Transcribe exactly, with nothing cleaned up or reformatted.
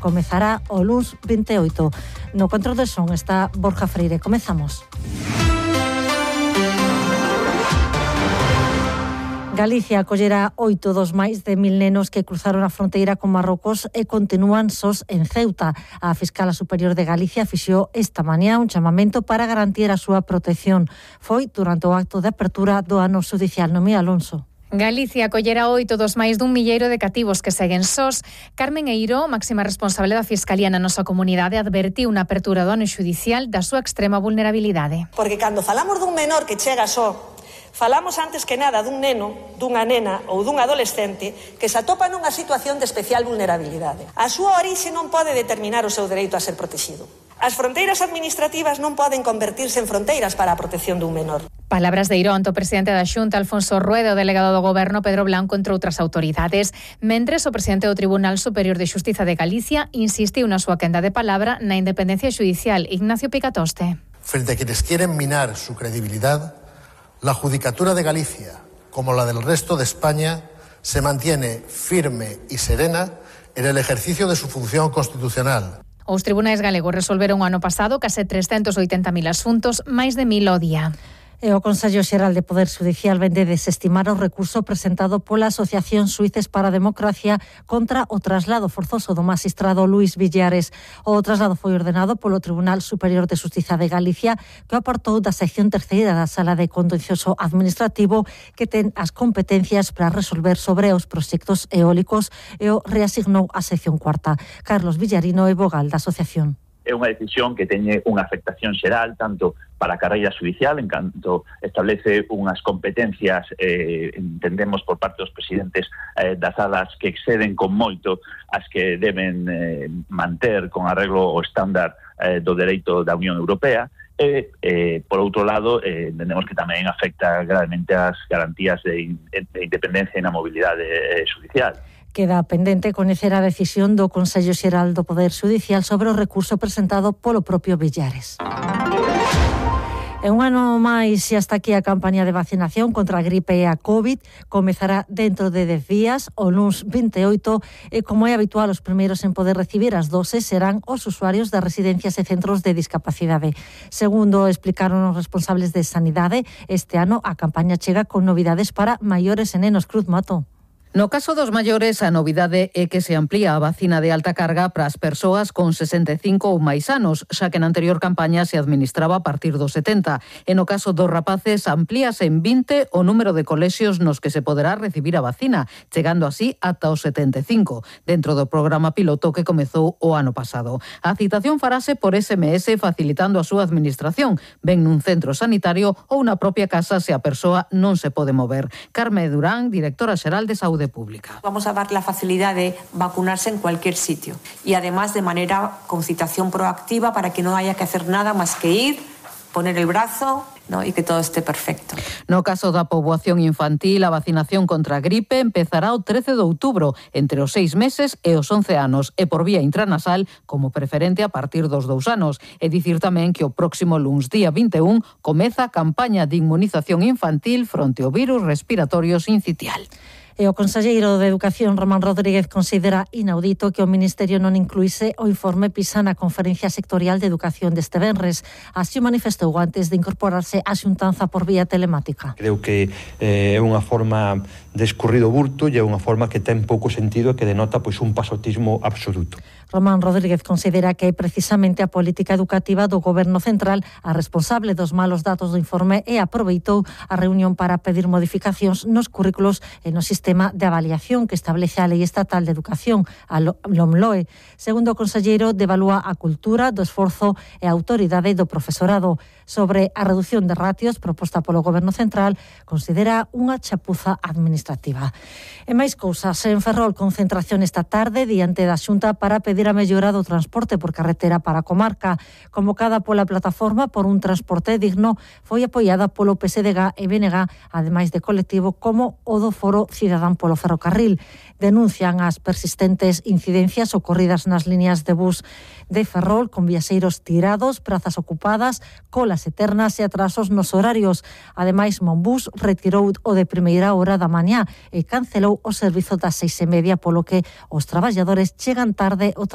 comezará o luns vinte e oito. No control de son está Borja Freire. Comezamos. Galicia acollerá oito dos máis de mil nenos que cruzaron a fronteira con Marrocos e continúan sós en Ceuta. A Fiscala Superior de Galicia fixou esta mañá un chamamento para garantir a súa protección. Foi durante o acto de apertura do ano xudicial. Noemí Alonso. Galicia acollera oito dos máis dun milleiro de cativos que seguen sós. Carmen Eiro, máxima responsable da Fiscalía na nosa comunidade, advertiu na apertura do ano xudicial da súa extrema vulnerabilidade. Porque cando falamos dun menor que chega só, falamos antes que nada dun neno, dunha nena ou dun adolescente que se atopa nunha situación de especial vulnerabilidade. A súa orixe non pode determinar o seu dereito a ser protegido. As fronteiras administrativas non poden convertirse en fronteiras para a protección dun menor. Palabras de Irón, o presidente da Xunta, Alfonso Rueda, o delegado do Goberno, Pedro Blanco, entre outras autoridades. Mentres, o presidente do Tribunal Superior de Xustiza de Galicia insistiu na súa quenda de palabra na independencia xudicial. Ignacio Picatoste. Frente a quienes quieren minar su credibilidad, la Judicatura de Galicia, como la del resto de España, se mantiene firme y serena en el ejercicio de su función constitucional. Os tribunais galegos resolveron o ano pasado case trescentos oitenta mil asuntos, máis de mil ao día. E o Consello Xeral de Poder Xudicial vende desestimar o recurso presentado pola Asociación Suíces para a Democracia contra o traslado forzoso do magistrado Luís Villares. O traslado foi ordenado polo Tribunal Superior de Xustiza de Galicia, que apartou da sección terceira da Sala de Contencioso Administrativo, que ten as competencias para resolver sobre os proxectos eólicos, e o reasignou á sección cuarta. Carlos Villarino é vogal da asociación. É unha decisión que teñe unha afectación xeral tanto para a carreira judicial, en canto establece unhas competencias, eh, entendemos por parte dos presidentes eh, das salas que exceden con moito as que deben eh, manter con arreglo o estándar eh, do dereito da Unión Europea. E, eh, por outro lado, eh, entendemos que tamén afecta gravemente as garantías de, de independencia e na mobilidade eh, judicial. Queda pendente coñecer a decisión do Consello Xeral do Poder Xudicial sobre o recurso presentado polo propio Villares. E un ano máis e hasta aquí a campaña de vacinación contra a gripe e a COVID comezará dentro de dez días, o luns vinte e oito, e como é habitual, os primeiros en poder recibir as doses serán os usuarios das residencias e centros de discapacidade. Segundo explicaron os responsables de Sanidade, este ano a campaña chega con novidades para maiores e nenos. Cruz Mato. No caso dos maiores, a novidade é que se amplía a vacina de alta carga para as persoas con sesenta e cinco ou máis anos, xa que na anterior campaña se administraba a partir dos setenta. E no caso dos rapaces, amplíase en vinte o número de colexios nos que se poderá recibir a vacina, chegando así ata os setenta e cinco, dentro do programa piloto que comezou o ano pasado. A citación farase por ese eme ese, facilitando a súa administración, ben nun centro sanitario ou na propia casa se a persoa non se pode mover. Carme Durán, directora xeral de Saúde Pública. Vamos a dar la facilidad de vacunarse en cualquier sitio y además de manera con citación proactiva para que no haya que hacer nada más que ir, poner el brazo, ¿no? Y que todo esté perfecto. No caso da poboación infantil, a vacinación contra a gripe empezará o trece de outubro, entre os seis meses e os once anos, e por vía intranasal como preferente a partir dos dous anos. E dicir tamén que o próximo luns día vinte e un comeza a campaña de inmunización infantil fronte ao virus respiratorio sincitial. E o conselleiro de Educación, Román Rodríguez, considera inaudito que o Ministerio non incluíse o informe PISA na Conferencia Sectorial de Educación deste venres. Así o manifestou antes de incorporarse á xuntanza por vía telemática. Creo que é eh, unha forma de escurrido burto e é unha forma que ten pouco sentido e que denota pois un pasotismo absoluto. Román Rodríguez considera que é precisamente a política educativa do Goberno Central a responsable dos malos datos do informe e aproveitou a reunión para pedir modificacións nos currículos e no sistema de avaliación que establece a Lei Estatal de Educación, a LOMLOE. Segundo o conselleiro, devalúa a cultura do esforzo e a autoridade do profesorado. Sobre a reducción de ratios proposta polo Goberno Central, considera unha chapuza administrativa. E máis cousas, en Ferrol, concentración esta tarde diante da Xunta para pedir a mellora do transporte por carretera para a comarca. Convocada pola plataforma por un transporte digno, foi apoiada polo P S D G e B N G, ademais de colectivo como o do Foro Cidadán polo Ferrocarril. Denuncian as persistentes incidencias ocorridas nas líneas de bus de Ferrol, con viaxeiros tirados, prazas ocupadas, colas eternas e atrasos nos horarios. Ademais, Monbus retirou o de primeira hora da mañá e cancelou o servizo das seis e media, polo que os traballadores chegan tarde ao traballo.